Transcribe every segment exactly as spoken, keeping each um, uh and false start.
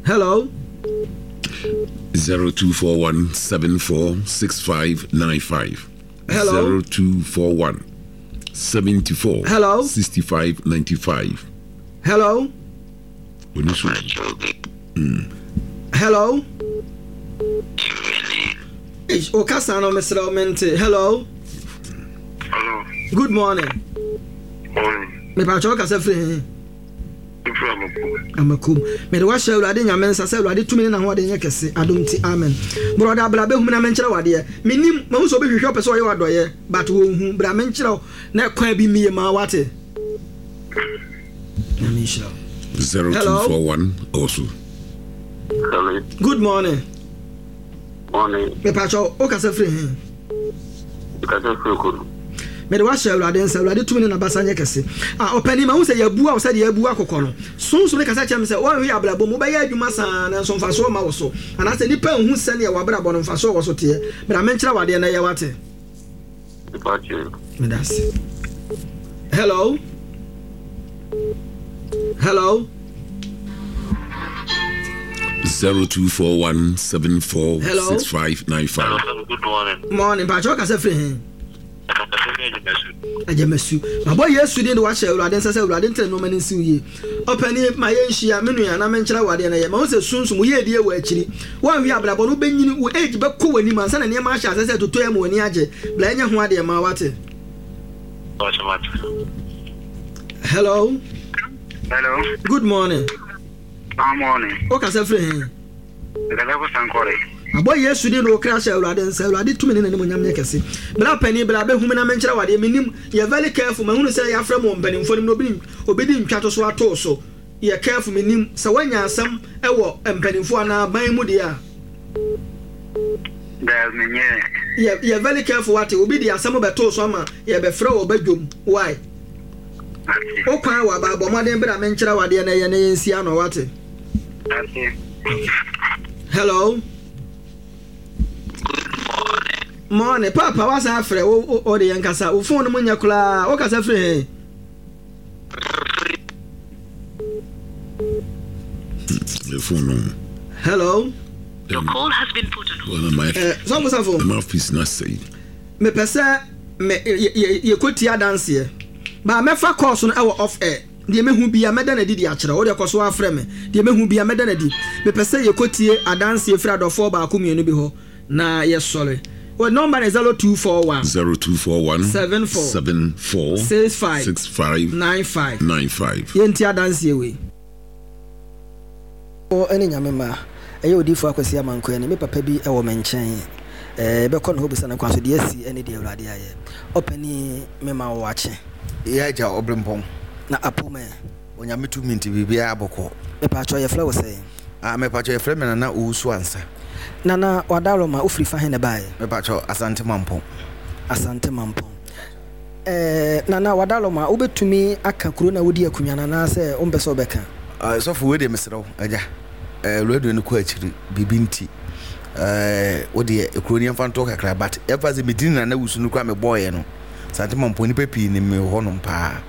Hello. Zero two four one seven four six five nine five. Hello. Zero two four one seventy four. Hello. Sixty five ninety five. Hello. Oni so. Hello. Eish, o kasa no mesrɛ wo mente. Hello. Hello. Good morning. Morning. Mepakyɛ wo kasa firi he? Mfiri Amakom. Amakom. Mede wahyɛ Awurade Nyame nsa sɛ Awurade tumi ne n'ahoɔden nyɛ kɛse. Adom nti, amen. Brɔda, bra bɛhu me na menkyerɛ wo adeɛ. Menim, mahu sɛ obi hwehwɛ ɔpɛ sɛ ɔyɛ wo adɔeɛ, but wɔnhu. Bra menkyerɛ wo na kwan bi mmie ma wo, wate? Nyame nhyira wo. Zero two Hello. four one also. Hello. Good morning. Morning. Mepakyɛ wo kasa firi he? Kasa firi Kodu. Mede wahyɛ Awurade nsa, Awurade tumi ne n'abasa nyɛ kɛse. Ah, ɔpanin, mahu sɛ yɛabua wo sɛdeɛ yɛabua akokɔ no. Sunsum no kasa kyerɛ me sɛ woanhwɛ yɛ abrabɔ mu, wobɛyɛ adwuma saa nanso mfasoɔ mma wo so. Anaasɛ nnipa nhu sɛdeɛ w'abrabɔ no mfasoɔ wɔ so teɛ. Bra menkyerɛ wo adeɛ na ɛyɛ, wate? Mepakyɛ. Meda ase. Hello. Hello. Zero two four one seven four Hello. six five nine five. Hello, good morning. Morning. Mpakyɛ wo kasa firi he? Kasa firi Agyamasu. Agyamasu. Mabɔ Yesu din de wahyɛ Awurade nsa sɛ Awurade ntene nneɛma no nsiw yie. Ɔpanin, ma yɛnhyia, me nua, na menkyerɛ wo adeɛ na yɛ. Mahu sɛ sunsum, woyɛ adie wɔ akyiri. Woanhwɛ abrabɔ no, wobɛnyini, wo age bɛkɔ w'anim ansa na nneɛma ahyɛ ase sɛ ɛtotɔ yɛ ma w'ani agye. Bra ɛnyɛ ho adeɛ ma wate. Mepakyɛ mate. Hello. Hello. Good morning. Good morning. Wo kasa firi he? Kasa firi Sankore. Abɔ Yesu din de wo kra hyɛ Awurade nsa. Awurade tumi ne n'animuonyam nyɛ kɛse. Bra panin, bra bɛhu me na menkyerɛ wo adeɛ. Menim, yɛ very careful. Mahunu sɛ yɛafrɛ mo wɔ mpanimfoɔ no mu na obi, obi de ntwa to so ato wo so. Yɛ careful, menim sɛ woanya asɛm wɔ mpanimfoɔ anaa aban mu deɛ a. Daabi, menyɛɛ. Yɛ, yɛ very careful wate. Obi de asɛm bɛto so ama yɛbɛfrɛ wɔ badwom. Why? Ate. Wo kwan wɔ aba, bɔ mmɔden bra menkyerɛ wo adeɛ na ɛyɛ na yɛnsi ano wate. Ate. Hello. Morning. Papa, wasan afrɛ wo wo wo de yɛn kasa. Wo phone no mu nyɛ koraa. Wo kasa firi he? The phone no. Hello. Your call has been put on hold. My, Eh, sɔfo sɔfo. mouthpiece na say. Mepɛ sɛ me yɛ yɛ yɛkɔtie adanseɛ. Ba mɛfa course no ɛwɔ off air. Deɛ mehu bia mɛda n'adi de akyerɛ. Wo deɛ kɔ so afrɛ me. Deɛ mehu bia mɛda n'adi. Mepɛ sɛ yɛkɔtie adanseɛ firi adɔfoɔ baako mmienu bi hɔ na yɛsɔre. Wɔ number ne zero two four one Zero two four one Seven four. seven four six five six five nine five. nine five. Yɛntie adanseɛ wei. Wɔ ne Nyame ma ɛyɛ odiyifoɔ Akwasi Amankwaa ni. Me papa bi wɔ me nkyɛn. Ɛɛ yɛbɛkɔ ne hɔ bisa no kwan so deɛ asi ne deɛ Awurade ayɛ. Ɔpanin, mema wo akye. Yɛ agya ɔbrempɔn. Na apomɛ. Onyame tumi nti biribiara bɔkɔ. Mepatwɔ yɛfrɛ wo sɛn? Ah, mepatwɔ yɛfrɛ me Nana Owusu Ansa. Nana Wadaroma, wofiri fa he na ɛbaeɛ? Mepatwɔ Asante Mampɔn. Asante Mampɔn. Ɛɛ Nana Wadaroma, wobɛtumi aka kuro na wodi akonnwa no anaasɛ wompɛ sɛ wobɛka? Ah, sɔfo wei deɛ mesrɛ wo agya. Eh, radio no kɔ akyiri biribi nti. Eh, wo deɛ kuro no yɛmfa nto kakra, but ɛfa sɛ medini Nana Owusu no koraa mebɔɔyɛ no. Asante Mampɔn nnipa pii nim me wɔ hɔnom paa.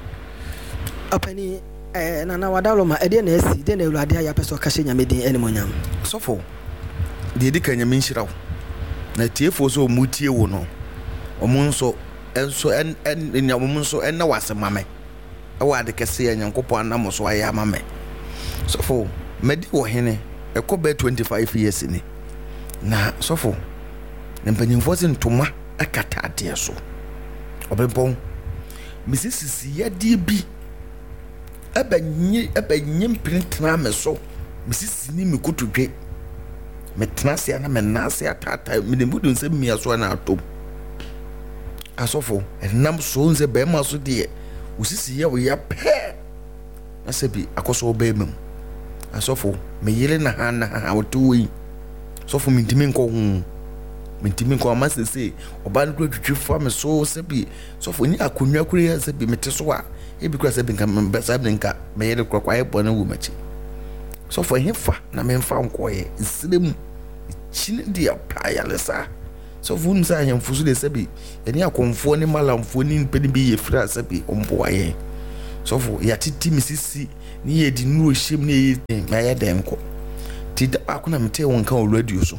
Ɔpani, eh, Nana Wadaroma, ɛdeɛ na asi, deɛ na Awurade ayɛ apɛ sɛ ɔka hyɛ Nyame din animuonyam? Sɔfo, deɛ ɛdi kan Nyame nhyira wo. Na tiefoɔ sɛ ɔmo tie wo no, ɔmo nso nso ɛn ɛn ɔmo nso ɛnna wɔ ase ma me. Ɛwɔ ade kɛse a Nyankopɔn anam so ayɛ ama me. Sɔfo, madi wɔ hene ɛkɔ bɛyɛ twenty five years ni. Na sɔfo, na mpanyinfoɔ sɛ ntoma ɛkata adeɛ so. Ɔbɛnpɔn, mesi sisi yadeɛ bi ɛbɛnye ɛbɛnye mpene tena me so. Mesi sisi ni me kotodwe. Metena ase a na me nan ase ataataa me de mu de nsɛm mmea so na atom. Asɔfo, ɛnam so nsɛ bɛrima so deɛ osisi yɛ ɔyɛ pɛɛ na sɛ bi akɔsɔ bɛrima mu. Asɔfo, me yere na ha na ha ɔte wɔ yi. Sɔfo, mentumi nkɔ ho. Mentumi nkɔ ama sese ɔbaa no kura twitwi fa me so sɛ bi sɔfo nye akonnwa kura yɛ sɛ bi mete so a ebi kura sɛ bi nka mbɛ saa bi nka me yere kura kɔ ayɛ bɔne wɔ m'akyi. Sɔfo, ɛhe fa na memfa nkɔyɛ nsire mu kyini deɛ pa ayaresa. Sɔfo, wonim sɛ ahemfo so deɛ sɛ bi yɛne akɔmfoɔ ne malamfoɔ ne nipa no bi yɛ firi a sɛ bi ɔmboa yɛn. Sɔfo, yɛatete me sisi ne yɛde nnuro hyɛm ne yɛyɛ den na yɛ dɛn nkɔ. Nti da baako na metee wo nka wɔ radio so.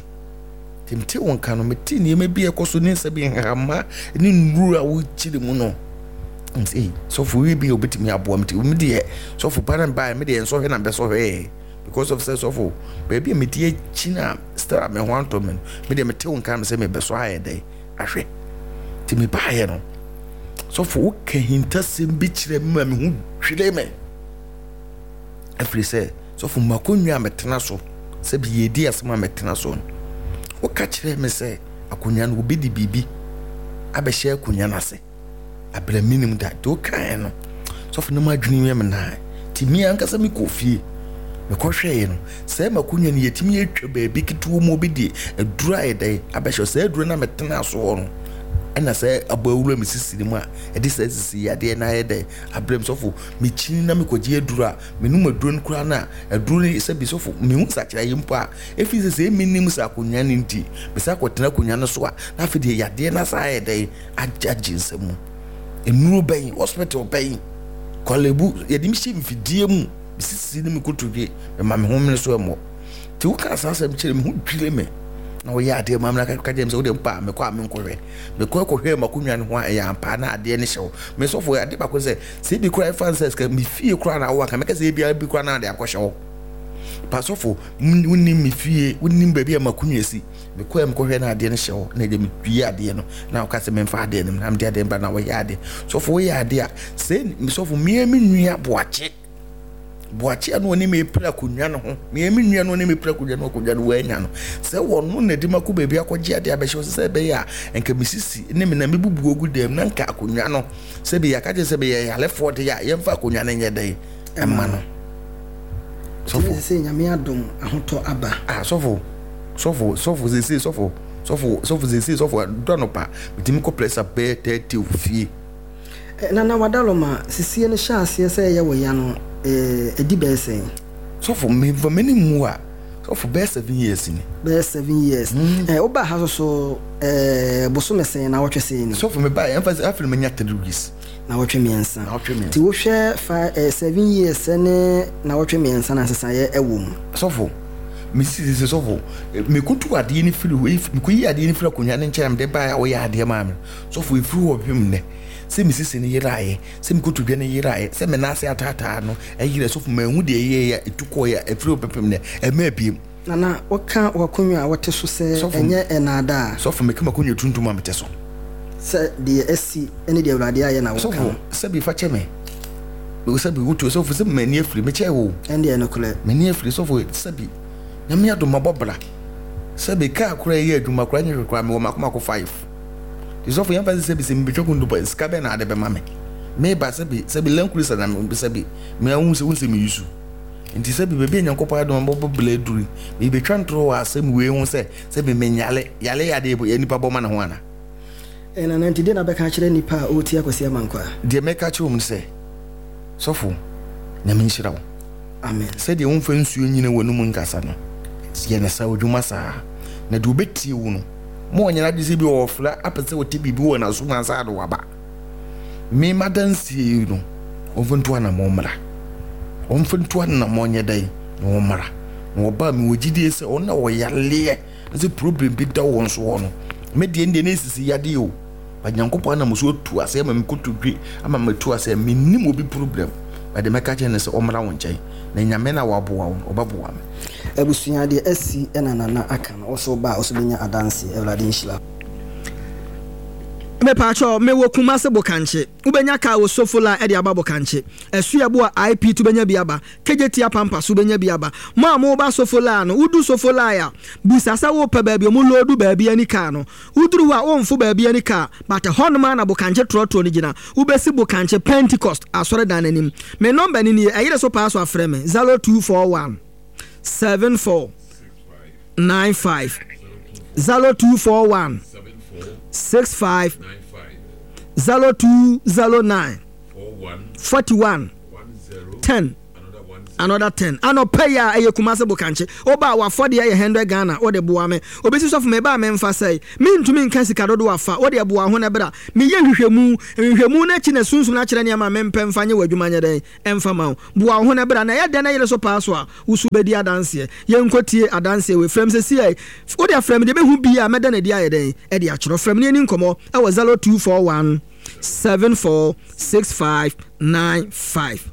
Nti metee wo nka no, metee nneɛma bi a ɛkɔ so ne nsa bi nhama ne nnuru a wokyere mu no. Nti sɔfo wi bi a obetumi aboa me. Nti me deɛ sɔfo ba na baeɛ, me deɛ nsɔhwɛ na mbɛsɔhwɛɛ. Because of sɛ sɔfo baabi a mede akyi na still a me ho antɔ me no, me deɛ mete wo nka me sɛ mebɛsɔ ayɛ dɛn ahwɛ. Nti mebaeɛ no, sɔfo woka hintasɛm bi kyerɛ me ma me ho dwire me. Ɛfiri sɛ sɔfo makonnwa a metena so sɛ bi yɛdi asɛm a metena so no, woka kyerɛ me sɛ akonnwa no obi de biribi abɛhyɛ akonnwa no ase abrɛ minim da. Nti wokaeɛ no, sɔfo no madwene yɛ me naa. Nti me ankasa mekɔ fie mekɔhwɛeɛ no, sɛ makonnwa no yɛtumi atwa baabi ketewa mu obi de aduro ayɛ dɛn abɛhyɛ saa aduro no a metena soɔ no, ɛna sɛ abɔ awura me sisi no mu a ɛde saa sisi yadeɛ no ayɛ dɛn abrɛ me. Sɔfo mekyini na mekɔgye aduro a menom aduro no koraa no a aduro no sɛ bi sɔfo mehu nsakyeraeɛ mpo a ɛfiri sɛ sɛ menim sɛ akonnwa no nti mesa akɔtena akonnwa no so a na afei deɛ yadeɛ no asa ayɛ dɛn agye nsɛm mu. Nnuro bɛn, hospital bɛn, Korle-Bu yɛde me hyɛ mfidie mu mesisi ne me kotodwe mema me ho mene so ɛmmɔ. Nti woka saa asɛm kyerɛ me ho dwire me na woyɛ adeɛ ma me na ka kyerɛ me sɛ wode mpa a mekɔ a menkɔhwɛ. Mekɔ kɔhwɛ m'akonnwa no ho a ɛyɛ ampa na adeɛ no hyɛ wo. Me sɔfo ade baako sɛ sɛ ebi koraa ɛfa sɛ sika me fie koraa na wowɔ anka mɛka sɛ ebi bi koraa na ade akɔhyɛ wo. Pa sɔfo wonim me fie, wonim baabi a m'akonnwa si. Mekɔ a mekɔhwɛ na adeɛ no hyɛ wo na ɛde metwie adeɛ no na woka sɛ memfa adeɛ no na mede adeɛ no ba na woyɛ adeɛ. Sɔfo woyɛ adeɛ a sɛ sɔfo mmea me nua boakye boakye a no ɔne me pira akonnwa no ho, mmea me nua no ɔne me pira akonnwa no akonnwa no wɔanya no sɛ wɔno na de makɔ baabi akɔgye adeɛ abɛhyɛ wo sɛ ɛbɛyɛ a nka mesisi ne me na mebubu ogu dɛm na nka akonnwa no sɛ bi yɛaka kyerɛ sɛ meyɛ yalefoɔ de a yɛmfa akonnwa no nyɛ dɛn ɛma no. Sɔfo sɛ Nyame adom ahotɔ aba. Ah sɔfo sɔfo sɔfo sese sɔfo sɔfo sɔfo sese sɔfo dɔ no pa metumi kɔ press up bɛyɛ thirty wɔ fie. Nana Wadaloma sisie no hyɛ aseɛ sɛ ɛyɛ wɔ ya no ɛdi bɛyɛ sɛn? Sɔfo memfa m'ani mmu a sɔfo bɛyɛ seven years ni. Bɛyɛ seven years. Eh, woba ha so so eh, bosome sɛn na wɔtwe sɛn ni? Sɔfo meba yɛmfa sɛ afei manya three weeks. Na wɔtwe mmiɛnsa. Na wɔtwe mmiɛnsa. Nti wohwɛ fa eh, seven years ne na wɔtwe mmiɛnsa na nsesaeɛ ɛwɔ mu. Sɔfo mesisi sɛ sɔfo mekotu adeɛ no firi hɔ, mekoyi adeɛ no firi akonnwa no nkyɛn mede baeɛ a woyɛ adeɛ maa me. Sɔfo ɛfiri hɔ pem nnɛ sɛ mesisi no yeraeɛ, sɛ mekotodwe no yeraeɛ, sɛ me nan ase ataataa no ɛyerɛ. Sɔfo manhu deɛ ɛyɛeɛ a ɛtu kɔeɛ a ɛfiri hɔ pepem nnɛ ɛma abiem. Nana woka w'akonnwa a wote so sɛ ɛnyɛ ɛnaadaa. Sɔfo meka m'akonnwa tuntum a mete so sɛ deɛ asi ne deɛ Awurade ayɛ na woka. Sɔfo sɛbi fa kyɛ me, sɛbi wotu sɔfo sɛ m'ani afiri mekyɛ wo ɛndeɛ nokorɛ m'ani afiri. Sɔfo sɛbi Nyame adom mabɔ bra, sɛbi kaa koraa ɛyɛ adwuma koraa nyɛ hwɛ koraa mewɔ mako mako five. Nti sɔfo yɛmfa sɛ sɛbi sɛ mebɛtwa kundu sika bɛn na ade bɛma me meba sɛbi sɛbi lankurisa na sɛbi meahu sɛ wo nsɛ meyi so. Nti sɛbi baabi a Nyankopɔn adom mabɔ bra aduru mebɛtwa ntorɔ wɔ asɛm wei ho sɛ sɛbi menyale yale yɛ adeɛ yɛ nipa bɔ ma ne ho ana. Nana nti deɛ na bɛka kyerɛ nipa a ɔretie Akwasi Amankwa? Deɛ mɛka kyerɛ wɔn sɛ sɔfo Nyame nhyira wo. Amen. Sɛdeɛ womfa nsuo nyina w'anum nkasa no yɛ ne saa odwuma saa na deɛ wobɛtie wo no ma ɔnyɛ n'adwene sɛ bi ɔɔfra apɛ sɛ ɔte biribi wɔ n'asom ansa de waba. Me madansie yi no ɔmfa ntu anammɔn mmra, ɔmfa ntu anammɔn nyɛ dɛn na ɔmmra na ɔba mewɔ gyidie sɛ ɔno na ɔyaleɛ na sɛ problem bi da wɔn so hɔ no me deɛ deɛ ne sisi yadeɛ o ba Nyankopɔn anam so atu ase ama me kotodwe ama matu ase mennim obi problem ba de mɛka kyerɛ ne sɛ ɔmmra wo nkyɛn na Nyame na waboa wo ɔbɛboa me. Abusua deɛ asi ɛna Nana aka no ɔso ba a ɔso bɛnya adanse. Awurade nhyira. Mepaakyɛw mewɔ Kumase Bokankye. Wobɛnya kaa wɔ Sofola ɛde aba Bokankye. Asuabo a I P to bɛnya bi aba. Kejetia Pampa so bɛnya bi aba. Mo a moba Sofola no, wodu Sofola a, busa sɛ wopɛ baabi ɔmo loodu baabi ani kaa no. Woduru hɔ a womfo baabi ani kaa, but ɛhɔnom a na Bokankye trɔtrɔ no gyina. Wobɛsi Bokankye Pentecost asɔredan n'anim. Me nɔmba ni nie, ɛyere so paa so afrɛ me zero two four one seven four nine five zero two four one six five zero two zero nine forty one ten Another ten. Anɔpa yi a ɛyɛ Kumase Bokankye. Woba a w'afɔdeɛ yɛ hundred Ghana wode boa me. Obi si sɔfo meba a memfa sɛe. Mentumi nka sika dodoɔ afa. Wode boa ho na bra. Meyɛ nhwehwɛmu. Nhwehwɛmu no akyi na sunsum no akyerɛ nneɛma a mempɛ mfa nyɛ w'adwuma nyɛ dɛn ɛmfa ma wo. Boa wo ho na bra. Na ɛyɛ dɛn na yere so paa so a wo so wobɛdi adanseɛ. Yɛnkɔ tie adanseɛ wei. Frɛ me seesei. Wode frɛ me deɛ bɛhu bi a mɛda no adi ayɛ dɛn ɛde akyerɛ. Frɛ me na yɛni nkɔmmɔ ɛwɔ zero two four one seven four six five nine five.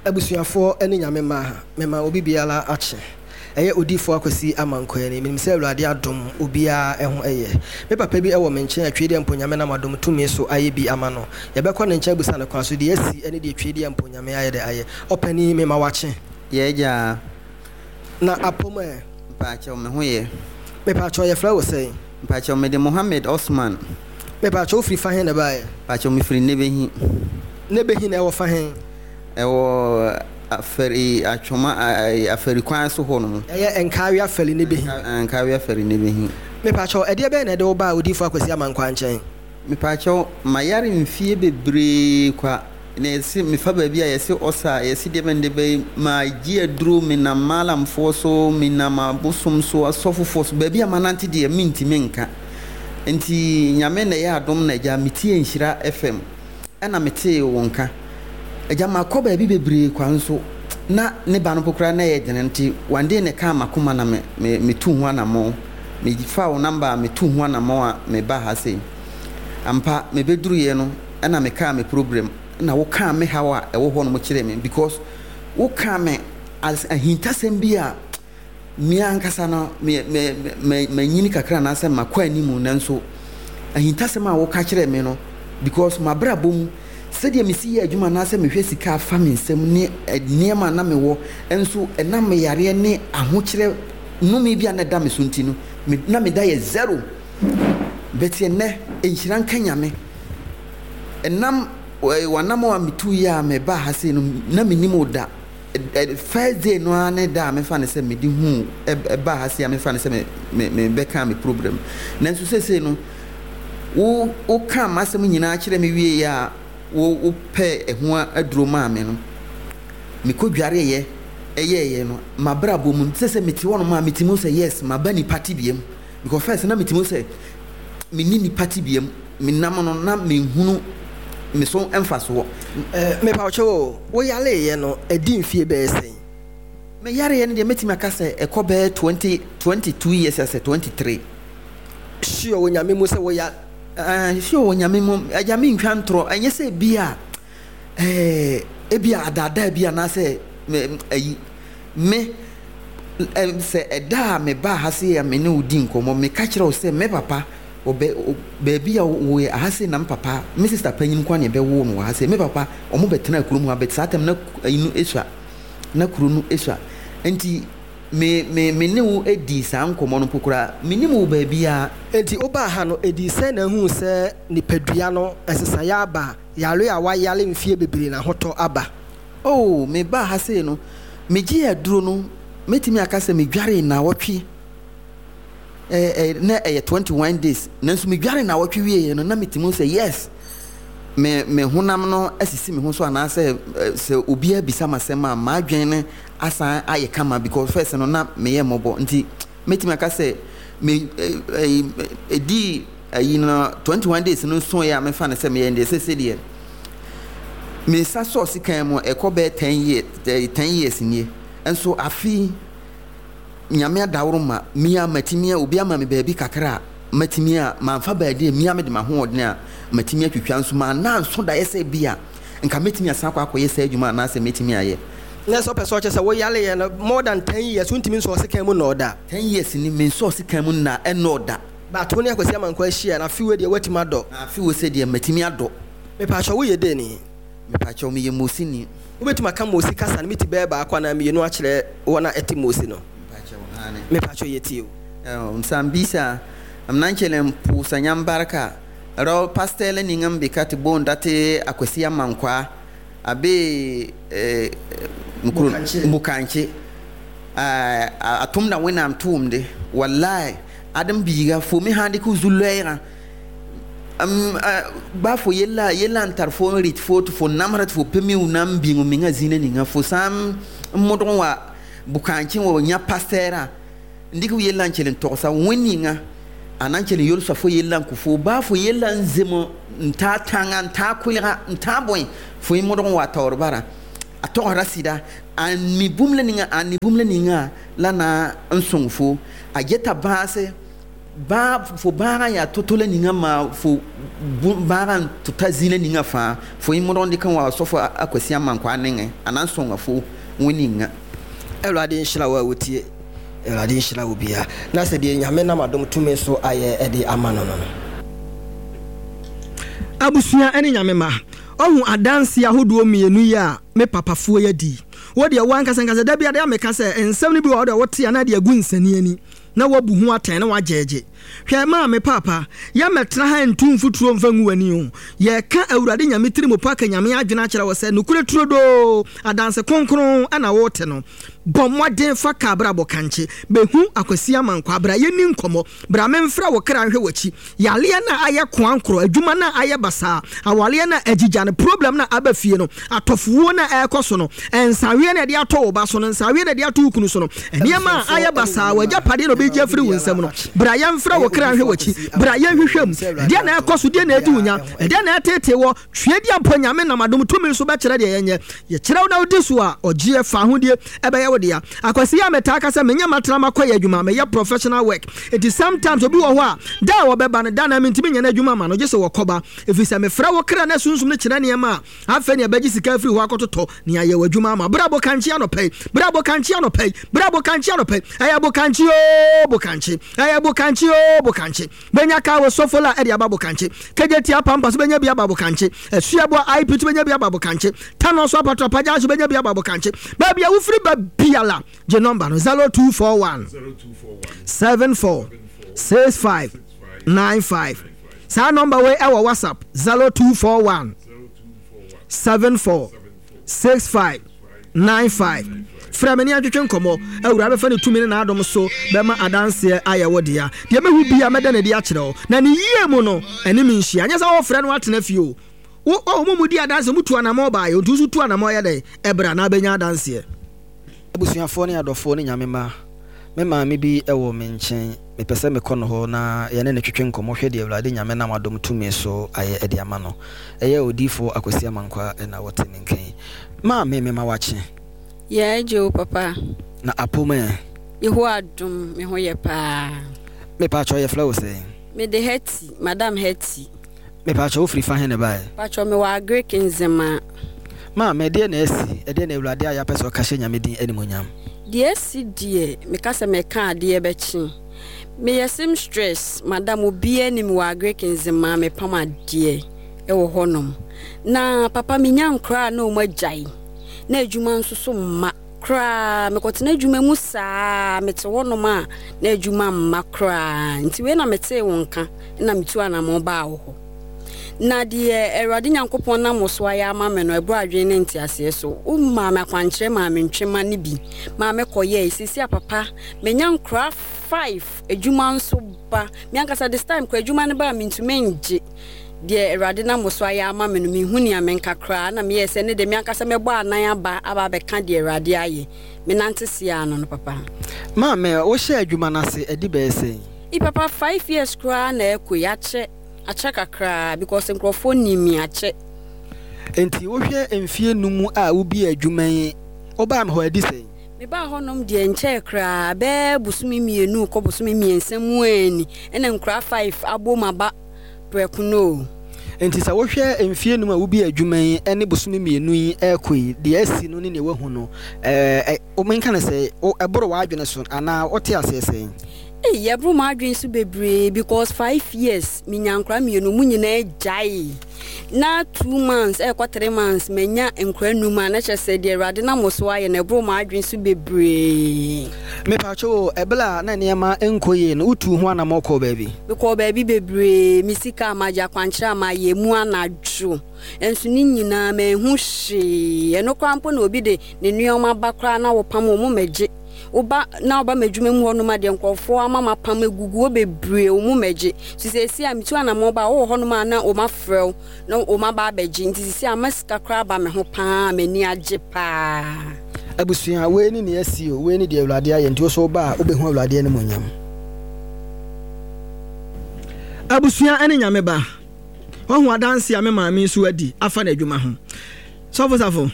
Abusuafoɔ ne Nyame mma, mema obi biara akye. Ɛyɛ Odiyifoɔ Akwasi Amankwaa ni. Menim sɛ Awurade adom obiara ho yɛ. Me papa bi wɔ me nkyɛn a Twedeɛ Mpo Nyame nam adom tumi so ayɛ bi ama no. Yɛbɛkɔ ne nkyɛn abusa no kwan so deɛ asi ne deɛ Twedeɛ Mpo Nyame ayɛ dɛ ayɛ. Ɔpanin, mema wakye. Yɛ agya. Na apom ɛ? Mpaakyɛw, me ho yɛ. Mepaakyɛw, yɛfrɛ wo sɛn? Mpaakyɛw, mede Mohammed Osman. Mepaakyɛw, wofiri fa he na ɛbaeɛ? Mpaakyɛw, mefiri Nebehi. Nebehi na ɛwɔ fa he? Ɛwɔ Afari Atwoma Afari kwan so hɔ nom. Ɛyɛ Nkawe Afari Nebehi. Nkawe Afari Nebehi. Mepaakyɛw, ɛdeɛ bɛn na ɛde wo baa Odiyifoɔ Akwasi Amankwaa nkyɛn? Mepaakyɛw, mayare mfie bebree kwa. Na yɛse mefa baabi a yɛse ɔsa, yɛse deɛ bɛn deɛ bɛn, magye aduro, menam maalamfoɔ so, menam abosom so, asɔfofoɔ so, baabi a manante deɛ mentumi nka. Nti Nyame na ɛyɛ adom na agya metie Nhyira F M ɛna metee wo nka. Agya makɔ baabi bebree kwa nso na ne ba no mpo koraa na ɛyɛ dene, nti one day na ɛkaa makoma na me, me, metu ho anammɔn. Mefa wo number a metu ho anammɔn a meba ha sei. Ampa mebɛduruiɛ no ɛna mekaa me problem na wokaa me haw a ɛwɔ hɔ no kyerɛ me, because wokaa me as ahintasɛm bi a me ankasa no me me me manyini kakra anaasɛ makɔ anim, nanso ahintasɛm a woka kyerɛ me no, because mabrabɔ mu sɛdeɛ mesi yɛ adwuma anaasɛ mehwɛ sika afa me nsam ne nneɛma na mewɔ nso ɛnam me yareɛ ne ahokyerɛ nnome bi a na ɛda me so nti no, na meda yɛ zero. But ɛnnɛ nhyira nka Nyame, ɛnam wanam a metu yi a meba ha sei no na menim wo da. First day no ara ne da a mefa ne sɛ mede hu ɛba ha sei a mefa ne sɛ me me mebɛka me problem. Nanso seesei no wo woka m'asɛm nyinaa kyerɛ me wie a wo wopɛ ɛho aduro maa me no, mekɔdwareeɛ ɛyɛɛyɛ no mabrabɔ mu sɛ sɛ mete hɔ nom a metumi sɛ yes maba nipa tebea mu, because first na metumi sɛ menni nipa tebea mu, menam no na menhunu me so mfasoɔ. Mepa wo kyɛw, wo yareeɛ no ɛdi mfie bɛyɛ sɛn? Me yareɛ no deɛ mɛtumi aka sɛ ɛkɔ bɛyɛ twenty twenty two years asɛ twenty three. Sure wɔ Nyame mu sɛ wo ya? Uh, sure wɔ Nyame mu, agya mentwa ntorɔ, ɛnyɛ sɛ bi a ɛɛ ebi a adaadaa bi anaasɛ me ayi me sɛ ɛda a me ba ha se a me ne wo di nkɔmmɔ, meka kyerɛ wo sɛ me papa ɔbɛ baabi a wɔyɛ aha se na me papa me sister panyin kwan na ɛbɛwo no wɔ ha se me papa ɔmo bɛtena kurom ha, bɛt saa tam na ayi no esua na kuro no esua, nti me me me ne wo edi saa nkɔmmɔ no mpo koraa me nim wo baabi a. Nti wobaa ha no edi sɛ na ehu sɛ nipadua no ɛsesaeɛ aba, yare a wayare mfie bebree na ahotɔ aba? Oh, me baa ha sei no megye aduro no metumi aka sɛ medware naawɔtwe ɛɛ ɛɛ na ɛyɛ twenty one days, nanso medware naawɔtwe wieɛ no na metumi sɛ yes me me honam no asisi me ho so anaasɛ sɛ obiara bisa m'asɛm a m'adwene no asan ayɛ kama, because first no na meyɛ mmɔbɔ, nti metumi aka sɛ me ɛɛ ɛdi ayi no twenty one days no so yɛ a mefa no sɛ meyɛ deɛ sɛsɛ deɛ me nsa sɔɔ sikan mu ɛkɔ bɛyɛ ten years ten years nie, nso afi Nyame adaworo ma mia matumi a obi ama me baabi kakra a matumi a mamfa baabi a mia mede m'ahoɔden a matumi atwitwa, nso manna nso daeɛ sɛ bi a nka mɛtumi asan akɔ akɔyɛ saa adwuma anaasɛ mɛtumi ayɛ. Na sɛ ɔpɛ sɛ ɔkyɛ sɛ woyareɛ no more than ten years wontumi nsɔɔ sekan mu nnɔɔ da. Ten years ni mensɔɔ sekan mu nna ɛnnɔɔ da. But wo ne Akwasi Amankwaa ahyia na afe wei deɛ woatumi adɔ. Na afe wei sɛ deɛ matumi adɔ. Mepakyɛw woyɛ dɛn ni? Mepakyɛw meyɛ Mosi ni. Wobɛtumi aka Mosi kasa no meti bɛyɛ baako anaa mmienu akyerɛ wɔn a ɛte Mosi no? Mepakyɛw aane. Mepakyɛw yɛtie o. Nsambisa mnankyele mpusa nyambarka rɔ pastɛlɛ niŋa mbika te boonda te Akwasi Amankwaa abe mukuro Mukankye a tʋmda Wẽnnaam tʋʋmde. Wallahi adem biiga fo me sãn dɩk zu lɔɛɛgã Baa fo yella yella n tar fo n rɩt fo tɩ fo namsda tɩ fo pa miu na n bĩng mengã zĩnã ninga fo sã n modg n wa bʋ-kãencẽ wa yã pastɛɛrã n dɩk f yella n kell n togsa wẽnd ninga a na n kell n yolsa fo yella n kõ fo baa fo yella n zem n taa tãnga n taa koɛlga n tãa bõe fo yẽ modg n wa taoor bara a togsda sɩda a mi bũmb la ninga a ni bũmb la ninga la na n sõng fo a geta bãase bãag fo bãagã yaa to-to la ninga maa fo bãagã n tɩ ta zĩnã ninga fãa fo yẽ modg n dɩk n wa sofo a Kwesi Amankwa nengẽ a na n sõnga fo wẽnd ninga. Awurade nhyira wo a wotie, Awurade nhyira wo bia na sɛ deɛ Nyame nam adom tumi so ayɛ ɛde ama no no no Abusua ne Nyame ma ɔhu adanse ahodoɔ mmienu yi a me papafoɔ yi adi. Wo deɛ wo ankasa nkasa da bi adeɛ a meka sɛ nsɛm no bi wɔ hɔ deɛ wote a na de agu nsani ani na woabu ho atɛn na woagyɛɛgye. Hwɛ maame paapa, yɛmmɛtena ha ntu mfuturo mfa ngu w'ani o. Yɛreka Awurade Nyame tirimupɔ aka Nyame adwene akyerɛ wo sɛ nokorɛ turodoo, adanse kronkron na wote no. Bɔ mmɔden fa ka abrabɔ kankye. Bɛhu Akwasi Amankwaa, bra yɛnni nkɔmmɔ. Bra memfrɛ wo kra nhwɛ w'akyi. Yareɛ no a ayɛ koankorɔ, adwuma no a ayɛ basaa, awareɛ no a agyigya no, problem no a aba fie no, atɔfowuo no a ɛrekɔ so no, nsaweɛ no a yɛde ato wo ba so no, nsaweɛ no a yɛde ato wo kunu so no, nneɛma a ayɛ basaa, w'agyapadeɛ na ɔbɛgye afiri wo nsam no, bra yɛmfrɛ wo kra nhwɛ w'akyi. Bra yɛnhwehwɛ mu. Ɛdeɛn na ɛrekɔ so? Deɛn na ɛredi wo nya? Ɛdeɛn na ɛreteetee woɔ? Tweaduampɔ Nyame nam adom tumi so bɛkyerɛ deɛ yɛnyɛ. Yɛkyerɛ wo na wodi so a, ɔgyeɛ, fahodie, ɛbɛyɛ wo dea. Akwasi yi a metaa ka sɛ menyɛ matena makɔyɛ adwuma, meyɛ professional work. Enti sometimes obi wɔ hɔ a, da a ɔbɛba no, da no ara mentumi nyɛ n'adwuma mma no, gye sɛ wɔkɔba. Ɛfiri sɛ mefrɛ wo kra na sunsum no kyerɛ nneɛma a, afei na yɛbɛgye sika afiri hɔ akɔtotɔ nea ayɛ w'adwuma ama. Bra bokankye anɔpa yi, bra bokankye anɔpa yi, bra bokankye anɔpa yi. Ɛyɛ bokankye oo, bokankye, ɛyɛ bokankye oo, bokankye. Bɛnya kaa wɔ Sofola de aba bokankye. Kejetia Pampa so bɛnya bi aba bokankye. Asuaboa I P so bɛnya bi aba bokankye. Tanɔ so Apatrapa Junction bɛnya bi aba bokankye. Baabi a wofiri ba biara, gye nɔmba no zero two four one seven four six five nine five. Saa nɔmba wei ɛwɔ WhatsApp zero two four one seven four six five nine five. Frɛ me ne yɛntwetwe nkɔmmɔ. Awurade bɛfa ne tumi ne n'adom so bɛma adanseɛ ayɛ wo dea. Deɛ mɛhu biara mɛda no adi akyerɛ wo, na ne yie mu no, ɛne me nhyia. Nyɛ sɛ wofrɛ no atena fie o. Wo, oh, mo mu di adanseɛ, motu anammɔn baeɛ, nti wo nso tu anammɔn yɛ dɛn? Ɛbra na abɛnya adanseɛ. Abusuafoɔ ne adɔfoɔ ne Nyame mma, me maame bi wɔ me nkyɛn, mepɛ sɛ mekɔ no hɔ na yɛne no twetwe nkɔmmɔ hwɛ deɛ Awurade Nyame nam adom tumi so ayɛ de ama no. Ɛyɛ Odiyifoɔ Akwasi Amankwah na wɔte me nka yi. Maame, mema wakye. Yɛ agye o papa. Na apom ɛ? Yehowa adom, me ho yɛ paa. Mepaakyɛw yɛfrɛ wo sɛn? Mede Hetty, Madam Hetty. Mepaakyɛw wo firi fa he na ɛbaeɛ? Mpakyɛw mewɔ Agric Nzema. Maame, ɛdeɛn na asi? Ɛdeɛn na Awurade ayɛ apɛ sɛ ɔka hyɛ Nyame din animuonyam? Deɛ asi deɛ, meka sɛ mɛka adeɛ bɛkye. Meyɛ seamstress, madam obiara nim me wɔ Agric Nzema, mepam adeɛ wɔ hɔnom. Na papa menya nkoraa a na wɔn agyae, na adwuma nso so mma koraa. Mekɔtena adwuma mu saa, mete hɔnom a na adwuma mma koraa. Nti wei na metee wo nka na metu anamɔn baa wo hɔ. Na deɛ Awurade Nyankopɔn nam wo so ayɛ ama me no, ɛboro adwene ne nteaseɛ so. Womaa me akwankyerɛ maa me ntwema no bi maa mekɔyɛe. Seesei a papa, manya nkoraa five, adwuma nso ba. Me ankasa this time koraa adwuma no ba a mentumi ngye. Deɛ Awurade nam wo so ayɛ ama me no, menhu nea menka koraa. Na meyɛɛ sɛ ne deɛ me ankasa mɛbɔ anan aba aba abɛka deɛ Awurade ayɛ. Menante seaa no no papa. Maame, wohyɛɛ adwuma no ase adi bɛyɛ sɛn? Ei papa, five years koraa na ɛrekɔ yi, akyɛ. Akyɛ kakraa because nkurɔfoɔ nim me akyɛ. Enti wohwɛ mfeɛ num a wobiee adwuma yi, wobaa me hɔ adi sɛn? Mebaa hɔnom deɛ nkyɛɛ koraa, bɛyɛ bosome mmienu rekɔ bosome mmiɛnsa mu ara ni, ɛna nkuraa five abom aba prɛko no o. Enti sɛ wohwɛ mfeɛ num a wobiee adwuma yi ne bosome mmienu yi rekɔ yi, deɛ asi no ne deɛ woahu no, ɛɛ, menka no sɛ, ɛboro w'adwene so anaa wote aseɛ sɛn? Ei ɛboro m'adwene so bebree because five years menya nkora mmienu ɔmo nyinaa gyae na two months ɛkɔ three months manya nkora num a na kyerɛ sɛ deɛ Awurade nam so ayɛ no ɛboro m'adwene so bebree. Mepatwo o, ɛberɛ a na nneɛma nkɔ yie no wotuu ho anamɔ kɔɔ baabi? Mekɔɔ baabi bebree, me sika a magye, akwankyerɛ a mayɛ mu anadwo nso ne nyinaa manhu hwee, ɛno koraa mpo na obi de ne nneɛma ba koraa na wopam wɔn mmɛgye. Woba na woba m'adwuma mu hɔnom a deɛ nkurɔfoɔ ama mapam agugu hɔ bebree wo mu mɛgye. Nti seesei a metu anammɔn ba a wowɔ hɔnom a na wɔn afrɛ wo na wɔn aba abɛgye. Nti seesei a ama sika koraa aba me ho paa, m'ani agye paa. Abusua, wei ne nea asi o, wei ne deɛ Awurade ayɛ, nti wo nso woba a wobɛhu Awurade animuonyam. Abusua ne Nyame ba. Wahu adanse a me maame nso adi afa n'adwuma ho. Sɔfo Safo,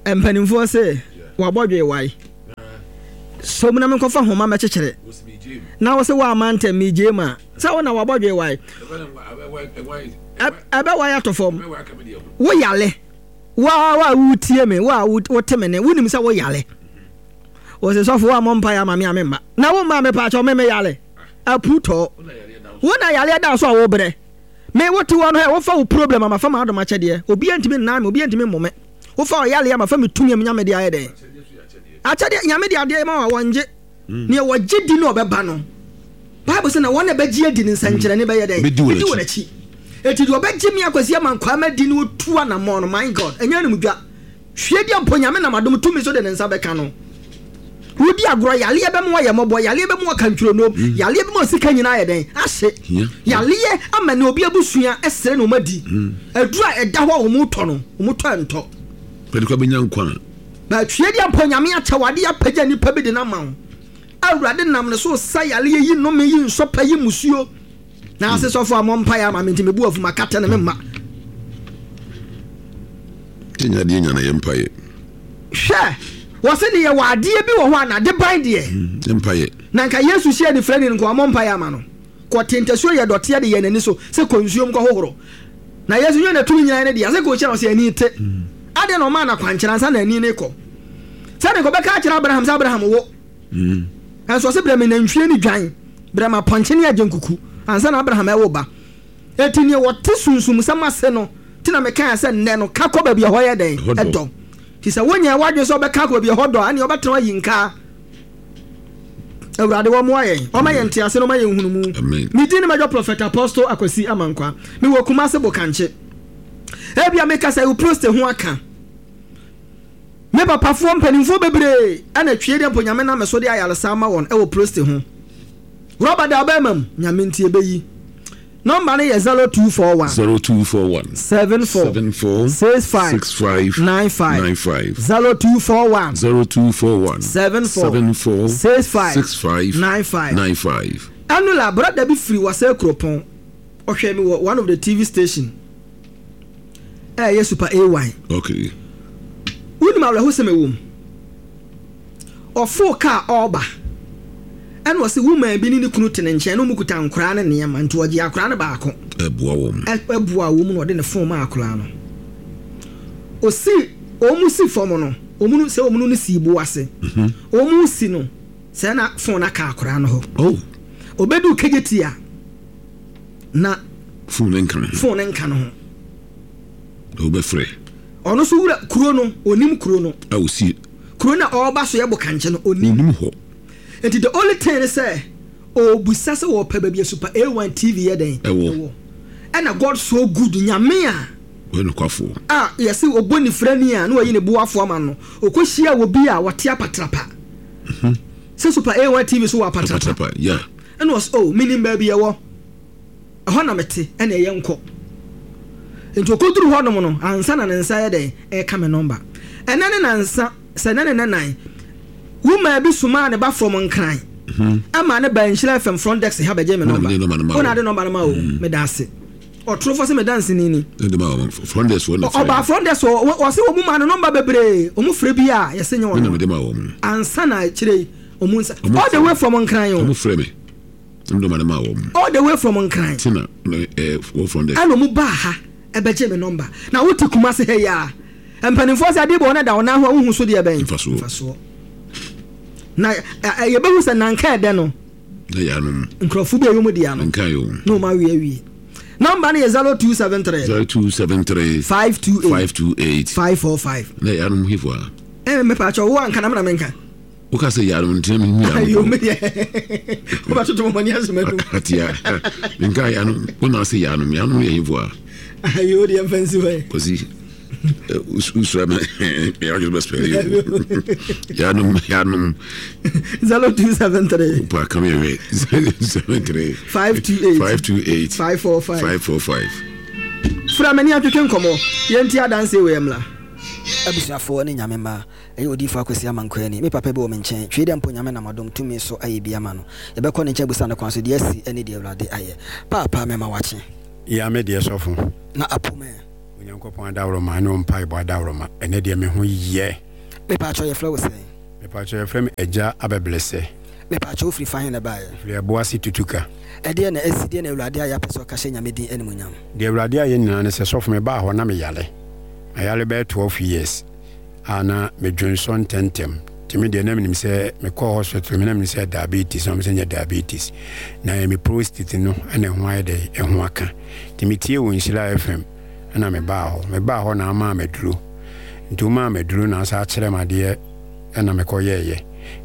mpanimfoɔ se wabɔ dwe wae. Som na menkɔfa homa mɛkyekyere. Na wo se woamma ntɛm megyee mu a, sɛ wo na wabɔ dwe wae. Ɛbɛwae atɔ fam. Wo yale. Wo a wotie me, wo a wote me ne, wonim sɛ wo yale. Wo se sɔfo woammɔ mpaeɛ ama me a memma. Na wo mma mepaakyɛw me me yale. Apu tɔɔ. Wo na yareɛ da so a wo brɛ. Me wo te hɔ no hɛ wo fa wo problem a ma fa m'adom akyɛdeɛ. Obiara ntumi nnan me, obiara ntumi mmo me. Wo fa ɔyareɛ a ma fa me tumi a me Nyame de ayɛ dɛn? Akyɛdeɛ, Nyame de adeɛ ma wo a wɔngye. Neɛ wɔgye di no ɔbɛba no. Bible sɛ na wɔn a ɛbɛgye adi no nsɛnkyerɛnne bɛyɛ dɛn? Bɛdi wɔn akyi. Eti deɛ ɔbɛgye me Akwasi Amankwaa madi no otu anamɔn no, my God, ɛnyɛ animdwa. Hwie deɛ mpo Nyame nam adom tumi so de ne nsa bɛka no. Wodi agorɔ, yareɛ bɛma wayɛ mmɔbɔ, yareɛ bɛma waka ntwironoom, mm. Yareɛ bɛma osika nyinaa ayɛ dɛn? Ahye. Yareɛ ama ne obi abusua ɛsrɛ na wɔn adi. Mm. Aduru a ɛda hɔ a wɔn tɔ no, wɔn tɔ ɛntɔ. Pɛde kɔ bɛnya nkwa. Na twie deɛ mpo Nyame akyɛ wade apagya nipa bi de no ama wo. Awurade nam ne so sa yareɛ yi nnome yi nsɔpɛ yi musuo. Na ase sɔfo a mɔ mpaeɛ ama me nti mebu afu makata ne me mma. Yɛnya adeɛ nya na yɛ mpaeɛ. Hwɛ, wɔse ne yɛwɔ adeɛ bi wɔ hɔ a n'adeban deɛ. Mm, yɛ mpaeɛ. Na nka Yesu hyia anifirani no nka wammɔ mpaeɛ ama no. Kɔte ntasuo yɛ dɔteɛ de yɛ n'ani so sɛ kɔ nsuom kɔhohoro. Na Yesu nyɛ na tumi nyinaa ne dea sɛ kɔ hyia no ɔse ani te. Mm. Adɛn na ɔmaa no akwankyerɛ ansa na ani no rekɔ? Sɛdeɛ nka ɔbɛka akyerɛ Abraham sɛ Abraham wo. Mm. Nanso ɔse brɛ me nantwie ne dwan, brɛ me apɔnkye ne agyenkuku ansa na Abraham ɛwo ba. Enti neɛ wɔte sunsumsɛm ase no nti na mekaeɛ sɛ nnɛ no ka kɔ baabi a ɛhɔ yɛ dɛn? Ɛdɔ. Nti sɛ wonyɛɛ w'adwene sɛ wobɛka akɔ baabi a ɛhɔ dɔ a, ɛneɛ wobɛtena hɔ ayi nkaa. Awurade wɔmmoa yɛn, ɔma yɛn ntease na ɔma yɛn nhunumu. Me din ne Major Prophet Apostle Akwasi Amankwa. Mewɔ Kumase Bokankye. Ebia mekasa yi wo prostate ho aka. Me papafoɔ mpanimfoɔ bebree na twie deɛ mpo Nyame nam me so de ayaresa ama wɔn wɔ prostate ho. Rɔba da ɔbɛɛma mu, Nyame nti ɛbɛyi. Nɔmba no yɛ zero two four one. Zero two four one. Seven four. Seven four. Six five. Six five. Nine five. Nine five. Zero two four one. Zero two four one. Seven four. Seven four. Six five. Six five. Nine five. Nine five. Ɛno la, brɔda bi firi Wasɛ Kuropɔn, ɔhwɛɛ me wɔ one of the T V station. Ɛyɛ Super A Y. Okay. Wonim awerɛhosɛm ɛwɔ mu. Ɔfoo kaa ɔreba. Ɛna ɔse woman bi ne ne kunu te ne nkyɛn na wɔn kuta nkoraa ne nneɛma nti ɔgye akoraa no baako. Ɛboa wɔn. Ɛboa wɔn na ɔde ne phone maa akoraa no. Osi wɔn si fam no, wɔn no sɛ wɔn no si bo ase. Mhm. Wɔn si no sɛ na phone aka akoraa no hɔ. Oh. Obedu kegye a na phone nka no ho. Phone nka no ho. Wobɛfrɛ. Ɔno nso wura kuro no, onim kuro no. A osi. Kuro no a ɔreba so yɛ bokankye no, onim. Onim hɔ. Nti the only thing ne sɛ ɔrebisa sɛ wɔpɛ baabi a Super A one T V yɛ dɛn? Ɛwɔ. Ɛna God so good, Nyame a. Ɔyɛ nokwafoɔ. A yɛse ɔbɔ nifirani a na wayi ne boafoɔ ama no, ɔkɔhyia obi a ɔte apatrapa. Mhm. Sɛ Super A one T V so wɔ apatrapa. Apatrapa, yeah. Ɛna ɔse, oh, menim baabi ɛwɔ. Ɛhɔ na mete, ɛna ɛyɛ nkɔ. Nti ɔkɔduru hɔnom no, ansa na ne nsa yɛ dɛn? Ɛreka me nɔmba. Ɛnɛ ne nansa, sɛ ɛnɛ ne nɛnan, woman bi somaa ne ba from Nkran, ɛma ne ba Nhyira F M front desk ha bɛgye me nɔmba. Wo na ade nɔmba no ma o, meda ase. Ɔtorofo sɛ me danseni ni. Ɔbaa front desk hɔ, ɔse wɔn maa no nɔmba bebree, wɔn frɛ bi a yɛse nyɛ ɔno. Ansa na akyire yi, wɔn nsa, all the way from Nkran o. All the way from Nkran. Tina, eh, from there. Ɛna ɔmo baa ha ɛbɛgye me nɔmba. Na wote Kumasi ha yi a, mpanimfoɔ sɛ adeɛ bɔ wɔn da wɔn nan ho a wohu so deɛ bɛn. Mfasoɔ. Na yɛbɛhu sɛ nanka ɛdɛ no. Na yanom. Nkurɔfo bi a ɛyɛ wɔn dea no. Nka yɛ wɔn. Na wɔn awie awie. Nɔmba no yɛ zero two seven three. Zero two seven three. Five two eight. Five two eight. Five four five. Na yanom hefo a. Ɛɛ mepɛ akyɛw wo anka na me na menka. Woka sɛ yanom ntina mehu yanom. Ayo me deɛ. Wobɛtoto mo mɔne asɛm anum. Atia. Menka yanom. Wo na ase yanom. Yanom yɛ hefo a. Ayo deɛ mfa nsi hɔ. Kwasi. Usura me yɛ ɔjɔ bɛ spell yi yanom yanom. zero two seven three. Pa kam yɛ wɛ zero seven three. five two eight. five two eight. five four five. five four five. Fura mani atwetwe nkɔmɔ yɛn ti adanse wɔ yɛn la. Abusuafoɔ ne Nyame mma, ɛyɛ Odiyifoɔ Akwasi Amankwaa ni. Me papa bi wɔ me nkyɛn, twi dɛ mpo Nyame nam adom tumi so ayɛ bi ama no. Yɛbɛkɔ ne nkyɛn abusa no kwan so deɛ asi ne deɛ Awurade ayɛ. Paapa mema wakye. Ya me deɛ sɔfo. Na apo me. Onyankopɔn adaworoma ne wo mpaebɔ adaworoma, ɛnɛ deɛ me ho yɛ. Mepaakyɛw yɛfrɛ wo sɛn? Mepaakyɛw yɛfrɛ me Agya Abɛblɛsɛ. Mepaakyɛw wofiri fa he na ɛbaeɛ? Mefiri Ɛboase Tutuka. Ɛdeɛn na asi, deɛn na Awurade ayɛ apɛ sɛ ɔka hyɛ Nyame din animuonyam? Deɛ Awurade ayɛ nyinaa ne sɛ sɔfo mebaa hɔ na meyare. Mayare bɛyɛ twelve years a na medwonsɔ ntɛntɛm. Nti me deɛ na menim sɛ mekɔɔ hospital me na menim sɛ diabetes na wɔn sɛ nyɛ diabetes na ɛyɛ me prostate no ɛna ɛho ayɛ dɛ ɛho aka. Nti metie wɔ Nhyira F M ɛna mebaa hɔ. Mebaa hɔ na amaa maduro. Nti womaa maduro na asa akyerɛ me adeɛ ɛna mekɔyɛɛyɛ.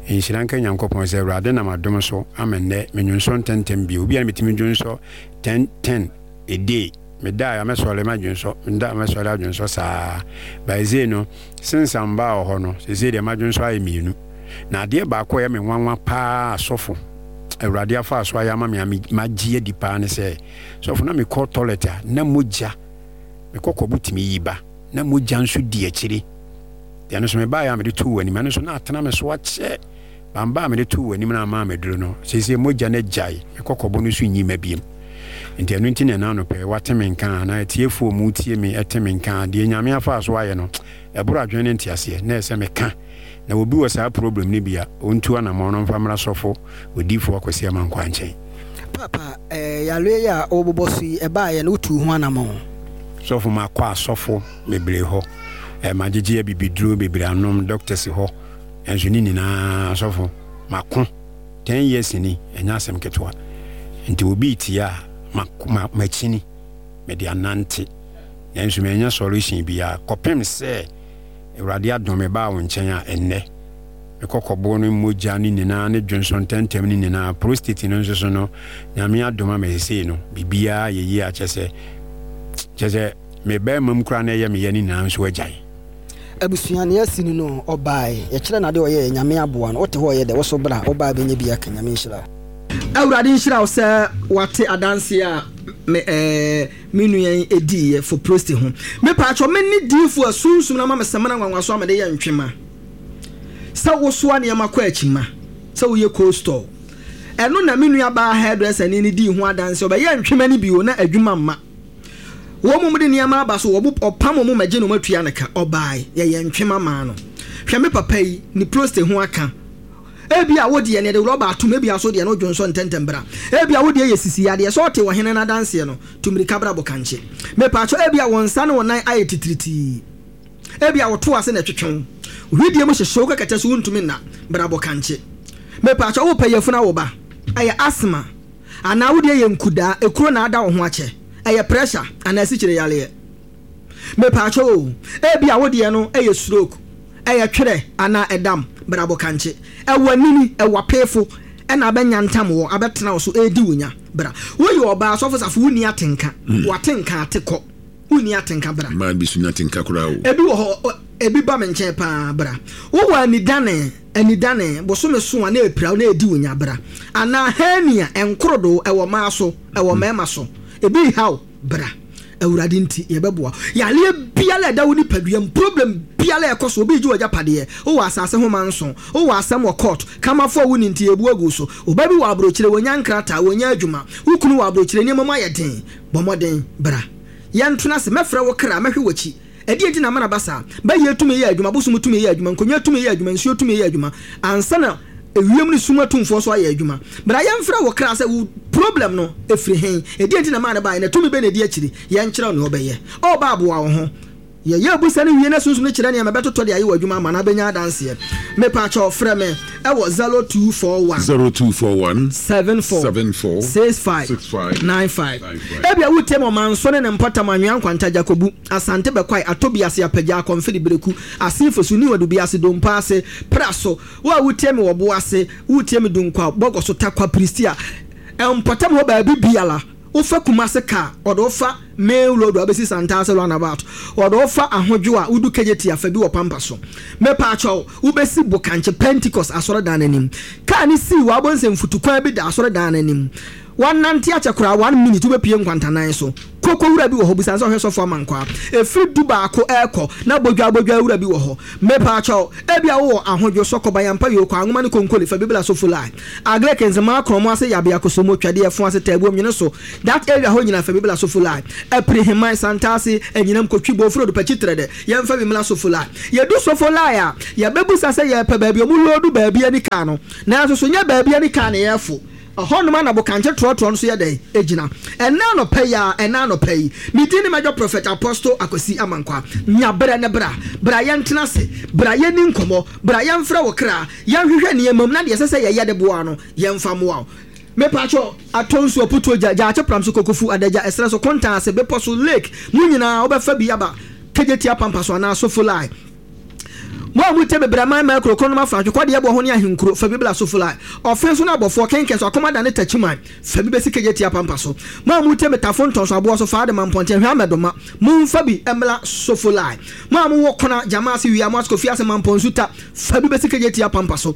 Nhyira nka Nyankopɔn sɛ Awurade nam adom so ama nnɛ menwonsɔ ntɛntɛm bio. Obi a na metumi dwonsɔ ten ten a day. Meda a mɛsɔre madwonsɔ, meda a mɛsɔre adwonsɔ saa. By no, since amba wɔ hɔ no, seesei deɛ madwonsɔ ayɛ mmienu. Na adeɛ baako a ɛyɛ me nwanwa paa asɔfo, Awurade afa so ayɛ ama me a magye adi paa ne sɛ, sɔfo na mekɔ toilet a, na mogya, mekɔ kɔbo tumi yi ba, na mogya nso di akyire. Deɛ no nso mebaeɛ a mede too w'anim, ɛno nso na atena me so akyɛ. Bamba a mede too w'anim na ama meduro no, seesei mogya no agyae, mekɔ kɔbo no so nyi ma biem. Nti ɛno nti na ɛna anɔpɛ wate me nka na atiefoɔ mu tie me ɛte me nka deɛ Nyame afa so ayɛ no ɛboro adwene ne nteaseɛ na ɛsɛ meka na obi wɔ saa problem no bi a ɔntu anammɔn no mfa mmra sɔfo odiyifoɔ Akwasi Amankwaa nkyɛn. Papa, eh, yareɛ yi a wobobɔ so yi ɛbaeɛ no wotuu ho anammɔn? Sɔfo makɔ asɔfo bebree hɔ, eh, magyegye abibiduro bebree anom doctors hɔ, ɛnso ne nyinaa sɔfo mako ten years ni ɛnyɛ asɛm ketewa. Nti obi tie a makyini mede anante nanso manya solution biara kɔpem sɛ Awurade adom me baa wo nkyɛn a ɛnnɛ mekɔkɔboɔ no mogya no nyinaa ne dwonsɔ ntɛntɛm no nyinaa prostate no nso so no Nyame adom ama sesei no biribiara yɛ yie akyɛ sɛ kyɛ sɛ me bɛrima mu koraa na ɛyɛ meyɛ no nyinaa nso agyae. Abusua ne asi no no ɔbae yɛkyerɛ nade ɔyɛ Nyame aboa no wote hɔ ɔyɛ dɛ wo so bra wobaa bɛnya bi aka Nyame nhyira. Awurade nhyira wo sɛ wate adanse a me eh, me nua yi ediiɛ for prostate ho. Me paatwɔ me ne diifo a sunsum na ma me sɛmina nwanwa so a mede yɛ ntwema. Sɛ wosoa nneɛma kɔ akyima, sɛ woyɛ cold store. Ɛno na me nua baa hairdresser ni ne dii ho adanse ɔbɛyɛ ntwema no bio na adwuma mma. Wɔn mu de nneɛma aba so wɔbo ɔpam wɔn magye no matua ne ka ɔbae yɛyɛ ntwema maa no. Hwɛ me papa yi ne prostate ho aka. Ebi a wodi ne de rɔba atum ebi aso deɛ no dwonso ntɛntɛm bra. Ebi a wodi yɛ sisi adeɛ sɛ ɔte wɔ hene na danseɛ no tumirika bra bɔkankye. Mepaakyɛ ebi a wɔn nsa ne wɔn nan ayɛ titiritii. Ebi a wɔto ase na ɛtwetwe wo. Hwidie mu hyehyɛ wo kɛkɛtɛ so wontumi nna bra bɔkankye. Mepaakyɛ wopɛ yafunu awo ba. Ɛyɛ asthma anaa wodi yɛ nkudaa ekuro na ada wo ho akyɛ. Ɛyɛ pressure anaa asikyire yareɛ. Mepaakyɛ o ebi a wodi no ɛyɛ stroke. Ɛyɛ twerɛ anaa ɛdam bra bɔkankye. Ɛwɔ anini ɛwɔ apefo ɛna abɛnya ntam wɔ abɛtena wo so ɛredi wo nya bra. Woyɛ ɔbaa sɔfo safo wonni atenka. Watenka ate kɔ. Wonni atenka bra. Mmaa bi so nya atenka koraa o. Ebi wɔ hɔ ebi ba me nkyɛn paa bra. Wowɔ anidane anidane bosome so a na epira na edi wo nya bra. Anaa hernia nkorodo ɛwɔ mmaa so ɛwɔ mmarima so. Ebi haw bra. Awurade nti yɛbɛboa. Yareɛ biara ɛda wo nipadua problem biara ɛkɔ so obi gye w'agyapadeɛ wowɔ asase ho manso wowɔ asɛm wɔ court kamafo a wo ni nti ebu agu so oba bi wɔ aburokyire wonya nkrataa wonya adwuma wo kunu wɔ aburokyire nneɛma mu ayɛ den bɔ mmɔden bra yɛntena ase mɛfrɛ wo kra mɛhwɛ w'akyi ɛdeɛ nti na amana ba saa bɛyɛ tumi yɛ adwuma bosom tumi yɛ adwuma nkonnwa tumi yɛ adwuma nsuo tumi yɛ adwuma ansa na ewiem ne sum atumfoɔ so ayɛ adwuma bra yɛmfrɛ wo kra sɛ wo problem no efiri hen ɛdeɛ nti na maa ne baeɛ na tumi bɛ na edi akyiri yɛnkyerɛ wo nea ɔbɛyɛ ɔba aboa wo ho yɛyɛ abusa no wie na sunsum no kyerɛ nneɛma bɛtotɔ de ayɛ wɔ adwuma ama na abɛnya adanseɛ mepaakyɛw frɛ me ɛwɔ zero two four one zero two four one seven four seven four six five six five nine five. nine five. Ebi a wotie ma ɔmanso ne ne mpɔtam anwea nkwanta Jakobu Asante Bɛkwae Atobi ase Apagya Akɔmfiri Bereku Asenfo so Niwadu bi ase Dompa ase Pra so wo a wotie me wɔ bo ase wotie me Dunkwa Bɔgɔ so Takwa Pristia mpɔtam hɔ baabi biara Wofa Kumase car, ɔde wofa main road a wobɛsi Santase roundabout, ɔde wofa Ahodwo a wodu Kejetia fa bi wɔ Pampa so. Mepaakyɛw, wobɛsi Bokankye Pentecost asɔredan no anim. Kaa ne sii wɔ abɔnsɛ mfutukwan bi da asɔredan no anim. Wanante akyɛ koraa one minute, wobɛpie nkwantanan so. Koko wura bi wɔ hɔ, busan sɛ ɔhwɛ sɔfo Amankwaa. Ɛfiri du baako ɛrekɔ na bodwa bodwa wura bi wɔ hɔ. Mepaakyɛw, ebia wowɔ Ahodwo, Sɔkɔba, Yampa, Yoko, Anwoma ne Konkoli, fa bi bla Sofo line. Agric, Nzemaa, Krɔmo ase, Yabea, Kosomo, Twɛdeɛ, Fo ase, Taabuom, Nwene so, that area hɔ nyinaa fa bi bla Sofo line. Apiri, Heman, Santase, Anyinam, Kotwi, Bofuro, Dupakyi, Trɛdɛ, yɛmfa bi mmla Sofo line. Yɛdu Sofo line a, yɛbɛbusa sɛ yɛpɛ baabi ɔmo loodu baabi ani kaa no, nanso so nyɛ baabi ani kaa ne yɛfo. Ɛhɔnom a na Bokankye trɔtrɔ no so yɛ dɛn gyina. Ɛnnɛ anɔpa yi ara, ɛnnɛ anɔpa yi, me din ne Major Prophet Apostle Akwasi Amankwah. Nya berɛ ne bra. Bra yɛntena ase. Bra yɛnni nkɔmmɔ. Bra yɛmfrɛ wo kra. Yɛnhwehwɛ nneɛma mu na deɛ ɛsɛ sɛ yɛyɛ de boa no, yɛmfa mmoa wo. Mepaakyɛw, atɔ nsuo, aputuo gya, gyaakye pram so, kokofu, adagya, ɛserɛ so, kontan ase, bepɔ so, lake, mu nyinaa wobɛfa bi aba Kejetia Pampa so anaa Sofolai. Mo a motie me brɛ man mmaa kuro kronom afa atwekwadeɛ boɔ ho ne ahenkuro fa bi bla Sofolai. Ɔfe so ne abɔfoɔ kenkɛn so akoma da ne takyiman fa bi bɛsi Kejetia Pampa so. Mo a motie me tafo ntɔn so aboɔ so fa ade ma mpɔnten hwɛ amɛdoma momfa bi mmla Sofolai. Mo a mowɔ kona gyama ase wia mo ase kofi ase mampɔn nsuta fa bi bɛsi Kejetia Pampa so.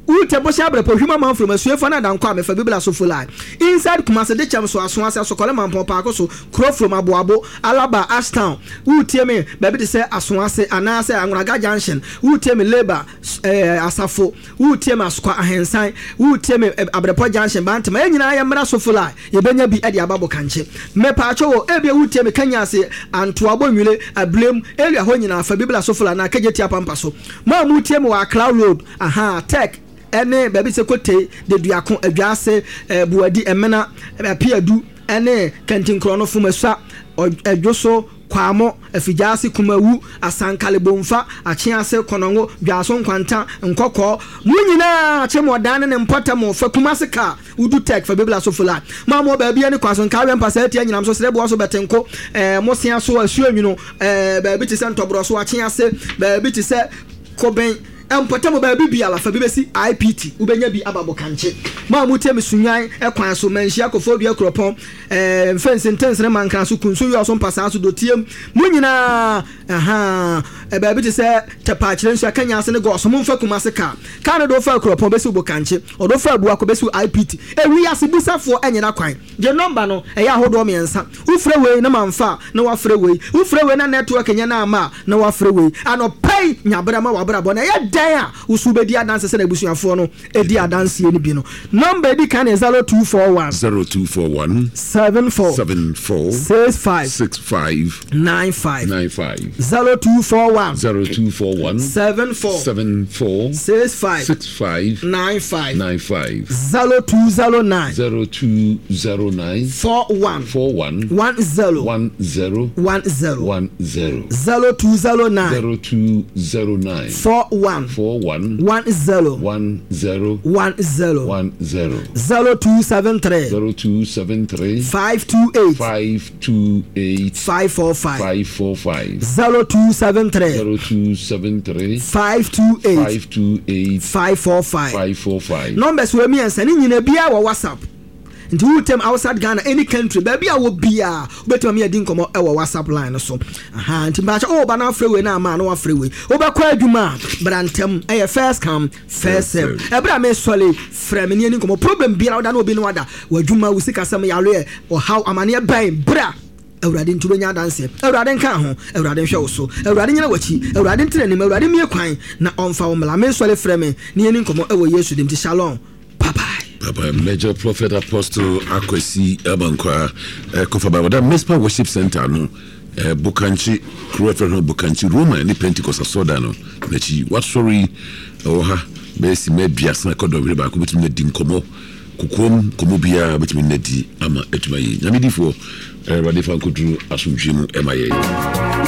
Wute bɔhyɛ abrɛpɔ hwim amanfrom asuefa ne adankɔ a mefa bi bla Sofolai. Inside Kumase de kyɛm so aso ase asokɔle mampɔn paako so kuro from aboabo Alaba Ashtown. Wotie me baabi te sɛ aso ase anaasɛ Anwonaga Junction. Wotie me Labour eh, Asafo. Wotie me Asokwa Ahensan. Wotie me eh, Abrɛpɔ Junction Bantama. Yɛn nyinaa yɛmmra Sofolai, yɛbɛnya bi de aba Bokankye. Mepaakyɛw o, ebia wotie me Kanya ase Antoa Bonwire Ablem area hɔ nyinaa fa bi bla Sofolai na Kejetia Pampa so. Mo a motie me wɔ Accra Road, aha, Tech ɛne baabi sɛ Kote, Deduako, Adwaase, eh, Buadi, Ɛmena, Apiadu ɛne Kantinkorɔ no Fomasua, Ɛdwoso, Kwamo, Afigyaase, Kumawu, Asankale, Bomfa, Akyease, Kɔnɔngo, Dwaso, Nkwanta, Nkɔkɔɔ. Mo nyinaa kye mo ɔdan ne ne mpɔtam fa Kumase kaa wodu Tech fa Bibla Sofola. Mo a mo wɔ baabi ne kwa so nkaawɛ mpasa atia nyinam so sereboɔ so bɛtenko, eh, mo sea so asuo nwunu, eh, baabi te sɛ Ntɔborɔ so Akyease, baabi te sɛ Kobɛn, mpɔtam baabi biara fa bi bɛsi I P T, wobɛnya bi aba Bokankye. Mo a motie me Sunyan kwan so, Manhyia, Koforidua, Kuropɔn, eh, Mfɛnsi, Ntensene, Mankran so, Kunsu, Yɔɔso, Mpasaa so, Dotiem, mo nyinaa, aha, baabi te sɛ Tɛpaakyerɛ nsu, Akanya ase ne Gɔɔso, momfa Kumase kaa. Kaa no de wofa Kuropɔn bɛsi Bokankye, ɔde wofa Abuakɔ bɛsi I P T. Ewiase busafoɔ nyera kwan. Gye nɔmba no, ɛyɛ ahodoɔ mmiɛnsa. Wofrɛ wei na mamfa a, na wafrɛ wei. Wofrɛ wei na network nyɛ na ama a, na wafrɛ wei. Anɔpa yi, nya berɛ ma w'abrabɔ na ɛyɛ dɛn a wo so wobɛdi adanse sɛdeɛ abusuafoɔ no di adanseɛ no bi no. Nɔmba edi kan yɛ zero two four one. zero two four one. seven four. seven four. six five. six five. nine five. nine five. zero two four one. zero two four one. seven four. seven four. six five. six five. nine five. nine five. zero two zero nine. zero two zero nine. four one. four one. one zero. one zero. one zero. one zero. zero two zero nine. zero two zero nine. four one. four one. one zero. one zero. one zero. one zero. zero two seven three. zero two seven three. five two eight. five two eight. five four five. five four five. zero two seven three. zero two seven three. five two eight. five two eight. five four five. five four five. Numbers wɔ mmiɛnsa ne nyinaa biara wɔ WhatsApp. Nti wo tem outside Ghana, any country, baabi a wɔ biara wobɛtumi adi nkɔmmɔ ɛwɔ WhatsApp line no so. Aha, nti mpaakyɛ oh ba na afrɛ wei na ama na wafrɛ wei. Wobɛkɔ adwuma a bra ntɛm, ɛyɛ first come first serve. Ɛberɛ a mesɔre frɛ me ne ani nkɔmmɔ, problem biara woda na obi ne wada, w'adwuma, wo sikasɛm, yareɛ, ɔhaw, amaneɛ bɛn, bra Awurade nti wobɛnya adanseɛ. Awurade nka ho, Awurade nhwɛ wo so, Awurade nyina w'akyi, Awurade ntena anim, Awurade mmie kwan na ɔmfa wo mmla. Mesɔre frɛ me ne ani nkɔmmɔ ɛwɔ Yesu dim. Nti shalom. Bye-bye. Bye-bye. Major Prophet Apostle Akwasi Amankwah, eh, Kofa Bible, that Mespa Worship Center no, eh, Bokankye, Kuro F M Bokankye, Roma ne Pentecost Asoda no, n'akyi. Wasɔre ɛwɔ ha, bɛyɛ si mɛ biasa kɔ dɔnhwere baako betumi na di nkɔmmɔ, kokoam nkɔmmɔ biara betumi na di ama atuma yi. Nyame difoɔ, eh, Awurade fa nkoduru asomdwie mu ɛma yɛn.